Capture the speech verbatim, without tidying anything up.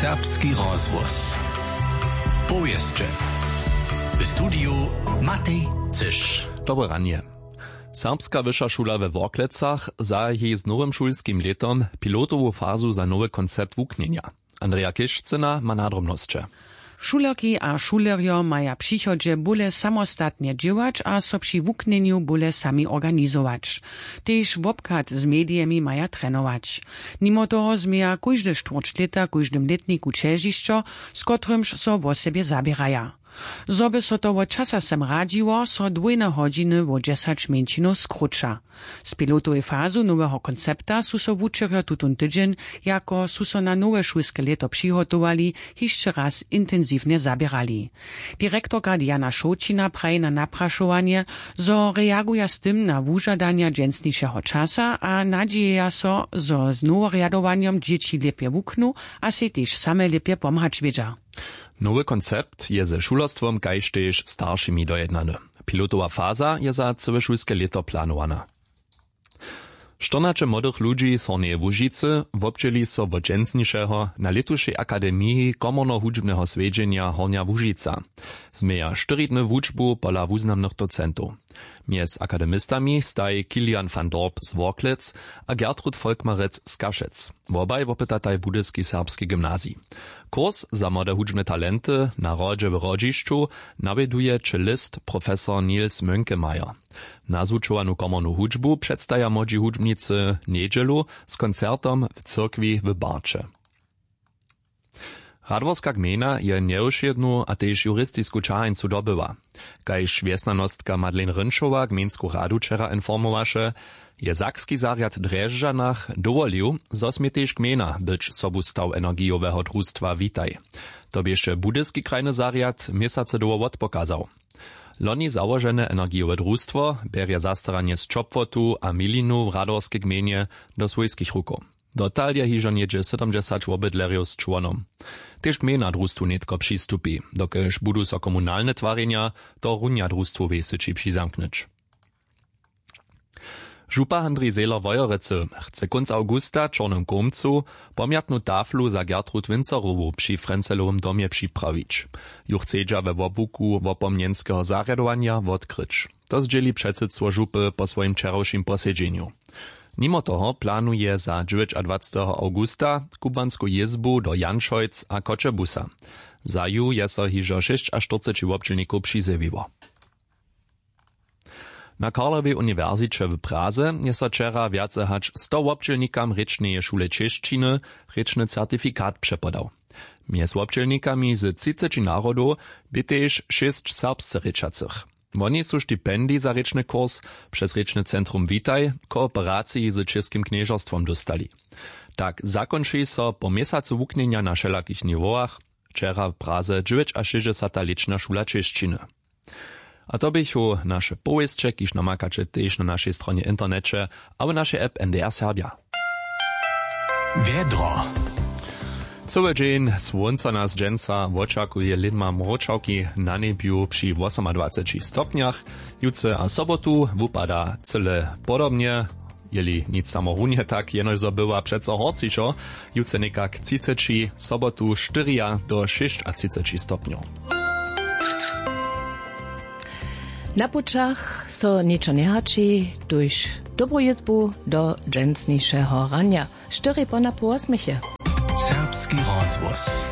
Serbski rozhłos. Powěsće. W studiju Matej Cyš. Dobre ranje. Serbska wyša šula we Worklecach zahaji z nowym šulskim lětom pilotowu fazu za nowy koncept wuknjenja. Andreja Kišcyna ma nadrobnosće. Šulerki a šulerjo maja w přichodźe bóle samostatnje dźěłać a so při wuknjenju bóle sami organizować. Tež wobchad z medijemi maja trenować. Nimo toho změja kóžde štwórć lěta w kóždym lětniku ćežišćo, z kotrymž so wosebje zaběraja. Zo by so to wot časa sem radźiło, so dwójne hodźiny wo dźesać mjeńšinow skróća. Z pilotowej fazu noweho koncepta su so wučerjo tutón tydźeń, jako su so na nowe šulske lěto přihotowali, hišće raz intensiwnje zaběrali. Direktorka Diana Šołćina praji na naprašowanje, zo reaguja z tym na wužadanja dźensnišeho časa a nadźijeja so, zo z noworjadowanjom dźěći lěpje wuknu a sej tež same lěpje pomhać wědźa. Nowy koncept je ze šulerstwom kaž tež staršimi dojednany. Pilotowa faza je za cyłe šulske lěto planowana. Štyrnaće młodych ludźi z Hornjeje Łužicy wobdźěli so wot dźensnišeho na lětušej akademiji komornohudźbneho swjedźenja Hornja Łužica. Změja štyri dny wučbu pola wuznamnych docentow. Mjez akademistami staj Kilian van Dorp z Worklec a Gertrud Volkmarec z Kašec. Wobaj wopytataj Budyski serbski gymnazij. Kurs za młode hudźbne talenty na hrodźe w Hrodźišću nawjeduje čelist profesor Niels Mönkemeyer. Nazwučowanu komornu hudźbu předstaja młodźi hudźbnicy njedźelu z koncertom w cyrkwi w Barće. Radworska gmejna je njewšědnu a tež juristisku ćahańcu dobyła. Kaž wjesnjanostka Madeleine Rynšowa gmejnsku radu wčera informowaše, je sakski zarjad w Drježdźanach dowolił, zo smě tež gmejna być sobustaw energijoweho drustwa Witaj. To běše budyski krajny zarjad měsacy dołho wotpokazał. Loni załožene energijowe drustwo bjerje zastaranje z ćopłotu a milinu w Radworskej gmejnje do swójskich rukow. Dotal je hižo něhdźe sydomdźesać wobydlerjow z čłonom. Tež gmejna drustwu nětko přistupi, dokelž budu so komunalne twarjenja tohorunja drustwowej syći přizamknyć. Župa Handrij Zehler Wojerecy chce kónc awgusta w Čornym Kołmcu pomjatnu taflu za Gertrud Winzerowu při Frenzelowym domje připrawić. Ju chcedźa we wobłuku wopomnjenskeho zarjadowanja wotkryć. To zdźěli předsydstwo župy po swojim wčerawšim posedźenju. Nimo toho planuje za dźewjećadwaceteho awgusta kubłansku jězbu do Janšojc a Choćebuza. Za ju je so hižo šěsćaštyrceći wobdźělnikow přizjewiło. Na Karlowej uniwersiće w Praze je so wčera wjace hač sto wobdźělnikam rěčneje šule čěšćiny rěčny certifikat přepodał. Mjez wobdźělnikami z třiceći narodow bě tež šěsć serbsce rěčacych. Woni su stipendij za rěčny kurs přez rěčny centrum Witaj w kooperaciji z Českim knježerstwom dóstali. Tak zakónči so po měsacu wuknjenja na wšelakich niwowach wčera w Praze dźewjećašěsćdźesata lěćna šula čěšćiny. A to běchu naše powěsće, kiž namakaće tež na našej stronje w interneće abo našej app N D R Serbja. Wjedro. Cyły dźeń słónco nas dźensa wočakuje, lědma mróčawki na njebju při wosomadwaceći stopnjach. Jutře a sobotu wupada cyle podobnje. Jeli nic samo runje tak, jenož zo bywa přeco horcišo, jutře někak třiceći, sobotu štyri do šěsćatřiceći stopnjow. Na pućach so ničo njehaći, tuž dobru jězbu do dźensnišeho ranja. Štyri po napoł wosmich je. Serbski rozhłos.